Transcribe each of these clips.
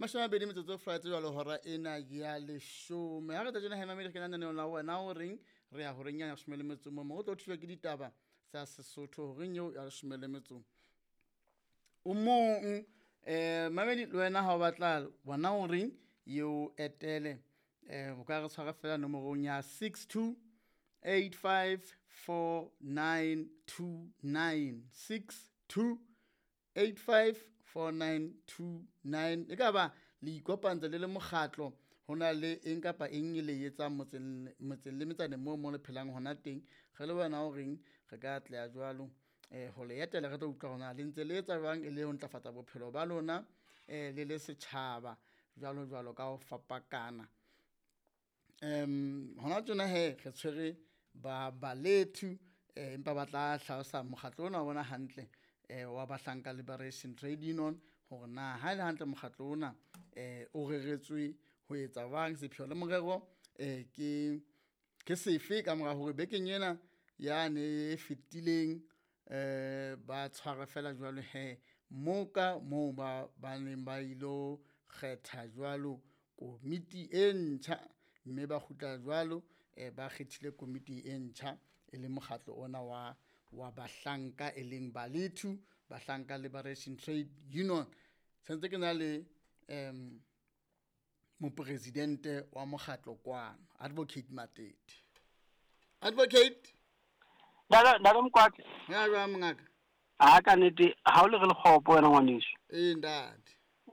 20 metsotso fela jwalo hora ena ya 10. Ha re tla tjena he mamedi, re kena lenaneong la wena o reng, re ya horeng ya 18 mo o tlo thuswa ke ditaba tsa Sesotho horeng eo ya 11. Mamedi le wena ha o batla bona o reng eo etele, o ka re tshwara fela nomorong ya 62 85 49 29, 62 85 49 29. E ka ba le ikopantse le le mokgatlo, ho na le eng kapa eng e le etsang motseng le metsaneng moo mo le phelang hona teng. Re le wena o reng re ka atleha jwalo ho le etela, re tlo utlwa hore na le ntse le etsa jwang e le ho ntlafatsa bophelo ba lona le le setjhaba jwalo jwalo ka ho fapakana. Hona tjena he re tshwere ba balethu, empa ba tla hlalosa mokgatlo ona wa bona hantle, wa Bahlanka Liberation Trade Union, hore na ha e le hantle mokgatlo ona o reretswe ho etsa jwang, sepheo le morero ke sefe ka mora hore bekeng ena yane e fetileng ba tshwara fela jwalo he moka moo ba neng ba ilo kgetha jwalo komiti e ntjha, mme ba kgutla jwalo ba kgethile komiti e ntjha e le mokgatlo ona wa Bahlanka e leng Balethu Bahlanka Liberation Trade Union. Sentse ke na le mopresidente wa mokgatlo kwano, Advocate Matete. Advocate Ntate Mokwatla. Ya jwang mongaka? A ka nnete ha o le re lekgopo wena ngwaneso. Ee ntate.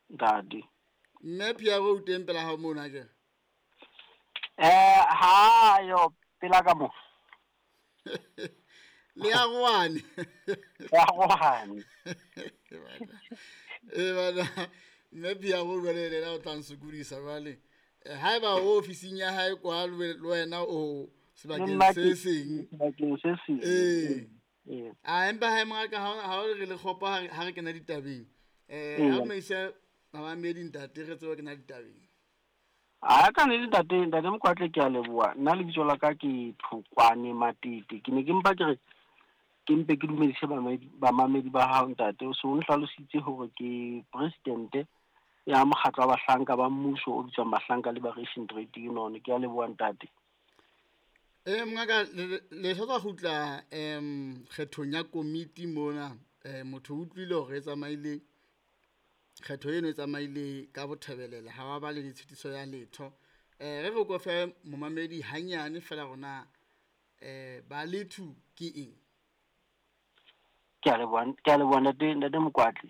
Ntate. Mme Piero o teng pela hao mona ke? Ha yo pela ka mo. Le ya rwane. Ya rwane. Bana, mme Piero jwale le yena o tla nsokodisa jwale. Haeba o ofising ya hae kwa le wena o sebakeng se seng. Sebakeng se seng. Ee. A empa hae mongaka ha o re le kgopo ha re kena ditabeng. Ha maisa mamedi ntate re tsebe kena ditabeng. A ka ne ntate Mokwatla ke a leboha. Nna lebitso la ka ke Thokwane Matete. Ke ne ke mpa ke re ke mpe ke dumedise bamamedi ba hao ntate. O so o nhlalositse hore ke presidente ya mokgatlo wa bahlanka ba mmuso o bitswang Bahlanka Liberation Trade Union. Ke a leboha ntate. Mongaka le sa tswa kgutla kgethong ya komiti mona, motho o utlwile hore e tsamaile kgetho eno e tsamaile ka bothebelela, ha wa ba le ditshitiso ya letho. Re re ko fe momamedi hanyane fela rona Balethu ke eng? Ke a leboha ntate Mokwatla.